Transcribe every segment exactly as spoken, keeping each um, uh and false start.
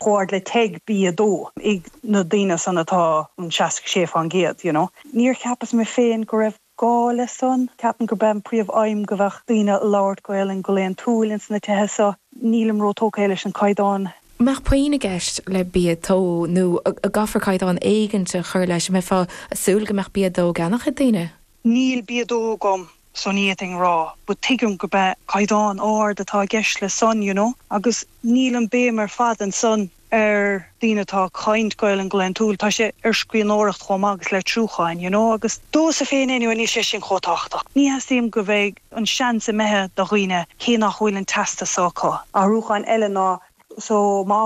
chomh hard le TEG B a dó ag na daoine san atá an seasca sé fán gcéad, you know. Níor cheapas mé féin go raibh gá le san, ceapaim gurb é an príomh-aidhm go bheadh daoine ag labhairt Gaelainn go laethúil ins na tithe so. Nílim rótógtha leis an caighdeán. Mbeadh puinn i gceist le B a dó nó an gcaithfear caighdeán éigin a chur leis, an mbeifeá ag súil go mbeadh B a dó á gceannach ag daoine? Níl B a dó agam so ní fhéadfainn rá, but tuigim gurb é caighdeán ard atá i gceist le san, you know, agus níl an béim ar fad ansan ar daoine atá ag caint Gaelainn go laethúil, tá sé ar scríbhneoireacht chomh maith agus litriúcháin, you know, agus domhsa féin anyway níl sé sin chomh tábhachtach. Ní theastaíonn go bheidh an seans imithe do dhaoine cé nach bhfuil an teastas so acu. Athrúcháin eile ná so má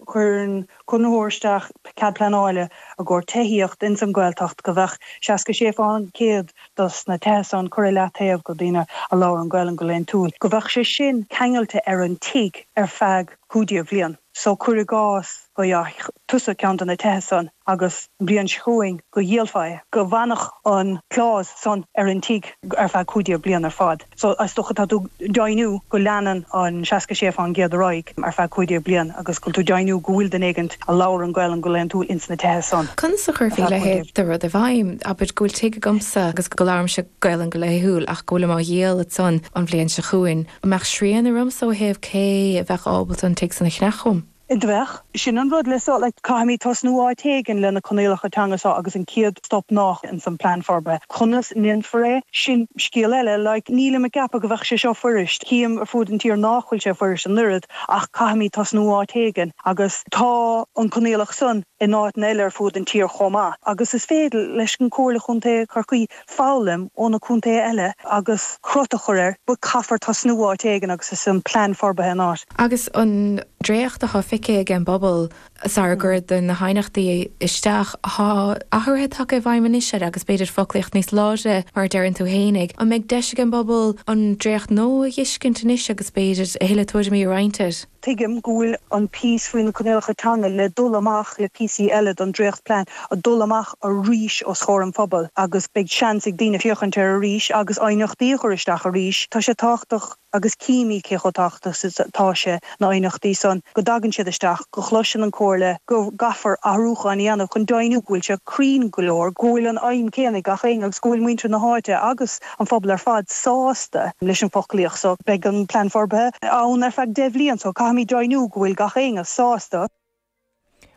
chuireann conraitheoir isteach cead pleanála i gcomhair tithíocht ins an Ghaeltacht go bheadh seasca sé fán gcéad dos na tithe san curtha i leataobh go daoine a labhrann Gaelainn go laethúil, go bheadh sé sin ceangailte ar an tigh ar feadh cúig déag bhliain. So cuir i gcás go bhfaigheadh tusa ceann de na tithe san agus an bhliain seo chugainn go dhíolfá é, go bhfanfadh an clause san ar an tigh ar feadh cúig déag bliain ar fad. So is dócha tá tú ag deimhniú go leanann an seasca sé fán gcéad ar aghaidh ar feadh cúig déag bliain agus go bhfuil tú ag deimhniú go bhfuil duine éigint a labhrann Gaelainn go laethúil ins na tithe san. Conas a chuirfí a leithéid de rud i bhfeidhm? Abair go bhfuil tigh agamsa agus go labhraímse Gaelainn go laethúil ach go bhfuilim á dhíol ansan an bhliain seo chugainn. An mbeadh srian ormsa ó thaobh cé a bheadh ábalta an tigh san a cheannach uaim? Bheadh. Sin an rud le so like caithfimid tosnú áit éigin le na coinníollacha teanga seo agus an chéad stop ná in san plean forbartha. Conas a ndéanfar é? Sin scéal eile, like nílim ag ceapadh go bheadh sé seo fuirist. Cím ar fud an tír nach bhfuil sé fuirist an oiread ach caithfimid tosnú áit éigin agus tá an coinníollacht san in áiteanna eile ar fud an tír chomh maith. Agus is féidir leis an Comhairle Chontae Chorcaí foghlaim ó na contaetha eile agus crot a chur air, but caithfear tosnú áit éigin agus is an plean forbartha an áit. Agus an dréacht atá feicthe ag an bpobal sar a gcuireadh na haighneachtaí isteach, tá athruithe tagtha i bhfeidhm anois air agus b'fhéidir foclaíocht níos láidre mar a deireann tú fhéinig. An mbeidh deis ag an bpobal an dréacht nua a fheiscint anois agus b'fhéidir a thuilleadh tuairimí a roinnt air? Tuigim go bhfuil an píosa faoi na coinníollacha teanga le dul amach le píosaí eile don dréachtplean a dul amach arís os comhair an phobail agus beidh seans ag daoine féachaint air arís agus aighneachtaí a chur isteach arís. Tá sé tábhachtach agus címid cé chomh tábhachtach is atá sé na haighneachtaí san go dtagann siad isteach, go gcloiseann an Chomhairle go gcaithfear athrúcháin a dhéanamh chun deimhniú go bhfuil sé cruinn go leor, go bhfuil an aidhm céanna ag gach éinne agus go bhfuil muintir na háite agus an phobal ar fad sásta leis an foclaíocht so beidh an plean forbartha ann ar feadh deich bhliain so caithfimid deimhniú go bhfuil gach éinne sásta.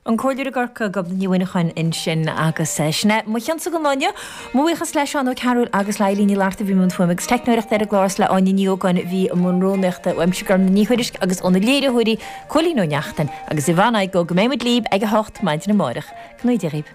An Comhairleoir i gCorcaigh Gobnait Ní Mhuineacháin ansin agus sin é mo chionsa don lá inniu. Mo bhuíochas le Seán Ó Cearúil agus le Eilín Ní Fhlatharta a bhí i mbun fuaime agus teicneoireachta ar an gclár is le Áine Ní Ógáin a bhí i mbun rúnaíochta uaimse Gormfhlaith Ní Thuairisg agus óna léiritheoirí Cóilín Ó Neachtain agus Yvonne Igoe go mbeidh muid libh ag a hocht maidin amárach. Go ngnóthaí Dia dhaoibh.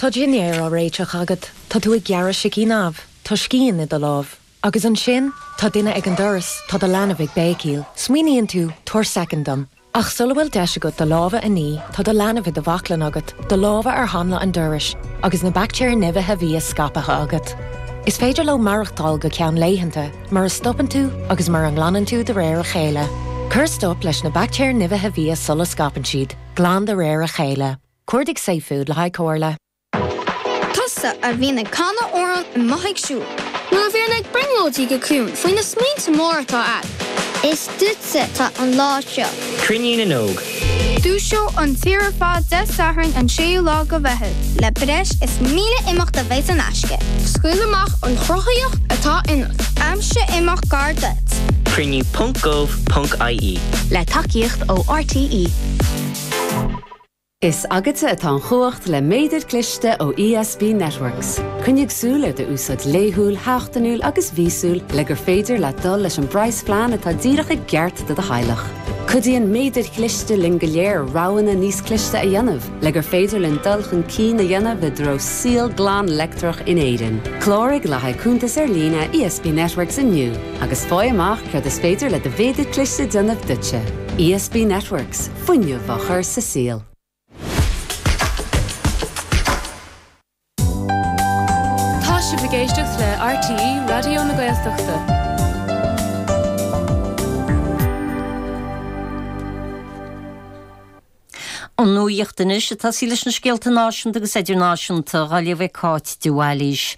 Tá dinnéar á réiteach agat, Tá tú ag gearradh sicín amh, Tá scian i do lámh. Agus ansin, tá duine ag an doras, tá do leanbh ag béicíl. Smaoiníonn tú tabhair soicind dom. Ach sula bhfuil deis agat do lámha a ní, tá do leanbh i do bhaclainn agat, do lámha ar hanla an dorais, agus na baictéir nimhithe bhia scaipthe agat. Is féidir leo maireachtáil go ceann laethanta, mura stopann tú agus mura nglanann tú de réir a chéile. Cuir stop leis na baictéir nimhithe bhia sula scaipeann siad, glan de réir a chéile. Cuardaigh Safefood le haghaidh comhairle. Tusa a bhíonn ag canadh amhrán amuigh ag siúl. Nó a bhíonn ag brionglóidí go ciúin faoi na smaointe móra atá agat. Is duitse atá an lá seo. Cruinniú na nÓg. Dúiseoidh an tír ar fad Dé Sathairn an séú lá de Mheitheamh. Le breis is míle imeacht a bheidh in aisce. Scaoil amach an chruthaíocht atá ionat. Aimsigh imeacht gar duit. Cruinniú ponc gov ponc IE. Le tacaíocht ó RTÉ. Is agatsa atá an chumhacht le méadar cliste ó ESB Networks. Coinnigh súil ar d'úsáid laethúil, sheachtainiúil agus mhíosúil le gur féidir le dul leis an bpraghasphlean atá díreach i gceart do do theaghlach. Cuidíonn méadair chliste linn go léir roghanna níos cliste a dhéanamh, le gur féidir linn dul chun cinn a dhéanamh i dtreo saol glan leictreach in Éirinn. Cláraigh le haghaidh cuntas ar líne ESB Networks inniu agus faigh amach céard is féidir le do mhéadar cliste déanamh duitse. ESB Networks, fuinneamh á chur sa saol. Tá sibh ag éisteacht le RTÉ Raidió na Gaeltachta. An nuacht anois ag tosaí leis na scéalta náisiúnta agus idirnáisiúnta á léamh ag Cáit de Bhailís.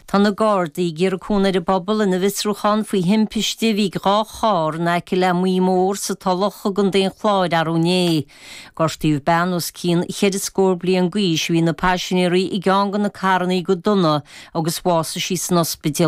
Tá na Gardaí ag iarraidh cúnamh ar an bpobal ina bhfiosrúchán faoi thimpiste a bhí ag dhá charr in aice le Maí Mór sa Tulach i gContae an Chláir arú inné. Gortaíodh bean os cionn cheithre scór bliain d'aois a bhí ina paisinéirí i gceann de na carranna go dona agus bhásaigh sí san ospidéal.